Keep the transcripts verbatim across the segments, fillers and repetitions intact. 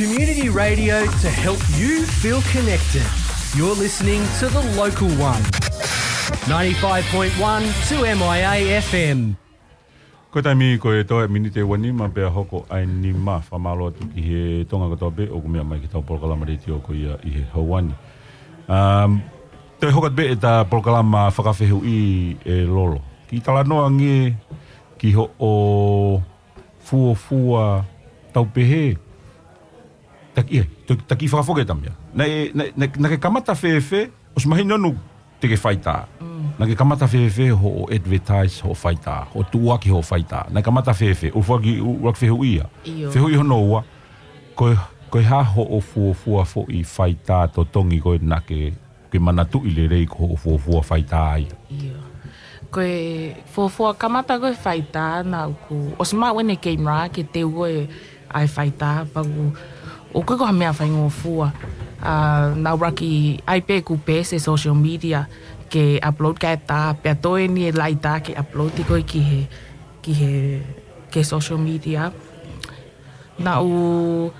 Community radio to help you feel connected. You're listening to The Local One, ninety-five point one two M I A F M. Ko e taimi ko e toe miniti ʻe uanima pea hoko ʻa e nima. Fakamālō atu ki he Tonga kotoa pē ʻoku meʻa mai ki heʻetau polokalama letiō ko ia ʻi he houa ni. Um, toe hoko atu pē ʻeta polokalama fakafehuʻi, ʻe Lolo. Kiʻi talanoa ange ki hoʻo fuofua tau pehē. Taki, ʻe, to-, taki fakafoke tamia. Naʻe, naʻe, naʻe, naʻe ke kamata fēfē, ʻosi mahino ʻoku te ke faitā. Mm. Naʻe ke kamata fēfē hoʻo advertise hoʻo faitā, hoʻo tuʻuaki hoʻo faitā. Naʻe kamata fēfē, ʻuluaki, ʻuluaki fehuʻi ia. ʻIo. Fehuʻi hono ua, ko e, ko e hā hoʻo fuofua foʻi faitā totongi ko ē naʻa ke, ke manatuʻi lelei ko hoʻo fuofua faitā ia? ʻIo. Ko e fuofua kamata ko e faitā naʻa ku, ʻosi maʻu ʻene camera ke teu ko ē ʻa e faitā, pea ʻoku, ʻoku ʻikai ko ha meʻa faingofua. ʻA, naʻa ku ʻuluaki ʻai pē ʻeku page he social media ke upload kae tā, pea toe ʻeni e laitā ke upload ko ē ki he, ki he, ki he social media. Naʻa ku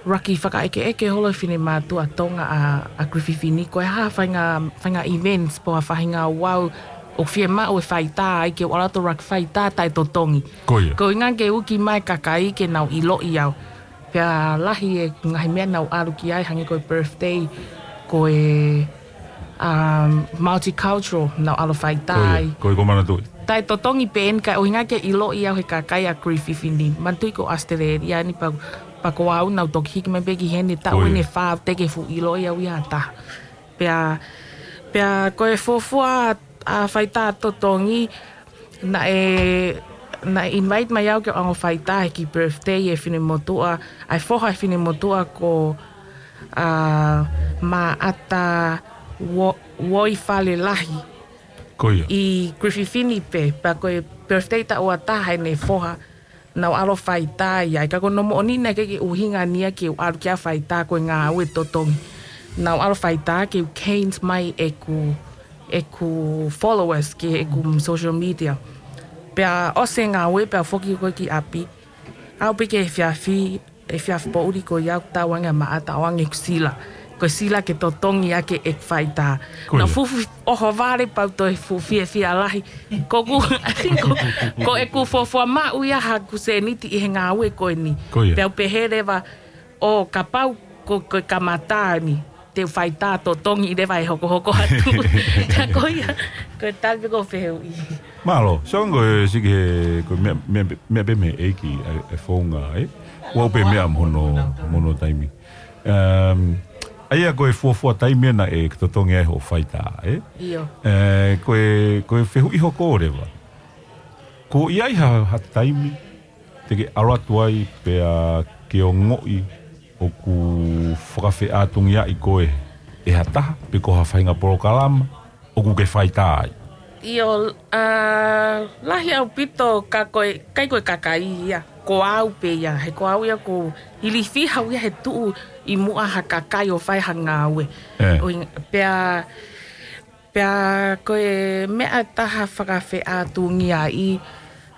ʻuluaki fakaʻekeʻeke holo e finemātuʻa Tonga ʻa, ʻa Griffith Fini, ko e hā e faʻahinga, faʻahinga events pe ko ha faʻahinga ouau ʻoku fiemaʻu e faitā ai, ke u ʻalu atu ʻo ʻuluaki faitā taʻetotongi. Ko ia. Ko e ʻuhinga ke uki mai e kakai ke nau ʻiloʻi au. Pea lahi e ngaahi meʻa naʻa ku ʻalu ki ai, hangē ko e birthday, ko e, um, multicultural naʻa ku ʻalu ʻo faitā ai. Ko ia, ko ia ʻoku ou manatuʻi. Taʻetotongi pē ʻeni kae ʻuhinga ke ʻiloʻi au ʻe he kakai ʻa Griffith Fini. Manatuʻi ko ʻAositelēlia ʻeni, pea, pea ko au naʻa ku toki hiki mai pē ki heni taʻu ʻeni ʻe fā teʻeki ke fuʻu ʻiloʻi au ia ha taha. Pea, pea ko e fuofua, ʻa, faitā totongi, naʻe, naʻe invite mai au ke u ʻalu ʻo faitā he kiʻi birthday e finemotuʻa, ʻa e foha e finemotuʻa ko, ʻa, Maʻata Wo-, Woifalelahi. Ko ia. ʻI Griffith Fini pē, pea ko e birthday taʻu ua taha ʻene foha, naʻa ku ʻalu ʻo faitā ai, ka ko hono moʻoni naʻe ʻikai ke ʻuhinga ʻeni ia ke u ʻalu ki ai ʻo faitā ko e ngāue totongi. Naʻa ku ʻalu ʻo faitā ke u gain mai ʻeku, ʻeku followers ki heʻeku social media. Pea ʻosi e ngāue, pea u foki ko ē ki ʻapi. Aʻu pē ki he efiafi, efiafi poʻuli ko ia ʻoku tau ange ʻa Maʻata ʻo ʻoange ʻeku sila. Ko e sila ke totongi ʻaki ʻeku faitā. Ko ia. Naʻa ku fuʻu ʻohovale pea u toe fuʻu fiefia lahi. Ko ʻeku, I think ko, ko ʻeku fuofua maʻu ia haʻaku sēniti ʻi he ngāue ko ʻeni. Ko ia. Pea u pehē leva ʻo kapau ko, ko e kamata ʻeni, te u faitā totongi leva ʻe hokohoko atu. Ka ko ia, ko e tali pē ko e fehuʻi. Mālō, so ko e siki he, ko e meʻa, meʻa, meʻa pē mei he ʻEiki ʻa e, ʻa e founga, ē? Ua pē meʻa mo hono, mo hono taimi. Um, ʻa ia ko e fuofua taimi ʻena ʻe totongi ai hoʻo faitā, ē? ʻIo. Ē, ko e, ko e fehuʻi hoko leva. Ko ia ʻi ha, ha taimi, te ke ʻalu atu ai pea ke ongoʻi ʻoku fakafeʻātungiaʻi koe ʻe ha taha, pe ko ha faʻahinga polokalama ʻoku ke faitā ai? ʻIo, ʻa, lahi ʻaupito ka ko e, ʻikai ko e kakai ia, ko au pē ia, he ko au ia ʻoku ou ilifia au ia he tuʻu ʻi muʻa ha kakai ʻo fai ha ngāue. Ē. ʻO ʻi-, pea, pea ko e meʻa ʻe taha fakafeʻātungiaʻi,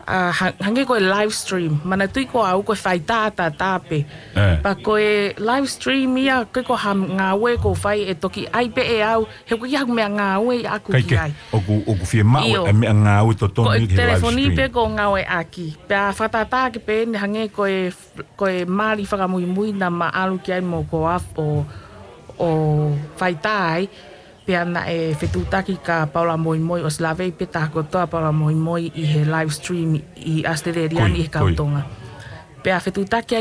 ʻa, ha-, hangē ko e live stream. Manatuʻi ko au ko e faitā ʻataʻatā pē. Ē. Pea ko e live stream ia, ʻikai ko ha ngāue ʻoku ou fai ʻe toki ʻai pē ʻe au, he ʻoku ʻikai haʻaku meʻa ngāue ia ʻaʻaku ʻikai ke, ki ai. ʻOku, ʻoku fiemaʻu ʻIo. e meʻa ngāue totongi ki he live stream. Ko e telefoni pē ʻoku ou ngāueʻaki. Pea fakatātā ʻaki pē ʻeni hangē ko e, ko e mali fakamuimui naʻa ma ʻalu ki ai mo Koaf ʻo, ʻo faitā ai. Pea naʻe fetuʻutaki kia Paula Moimoi, ʻosi lave pē taha kotoa Paula Moimoi ʻi he live stream ʻi ʻAositelēlia Ko ia, ni ʻi he ko ia. kau Tonga. Pea fetuʻutaki ai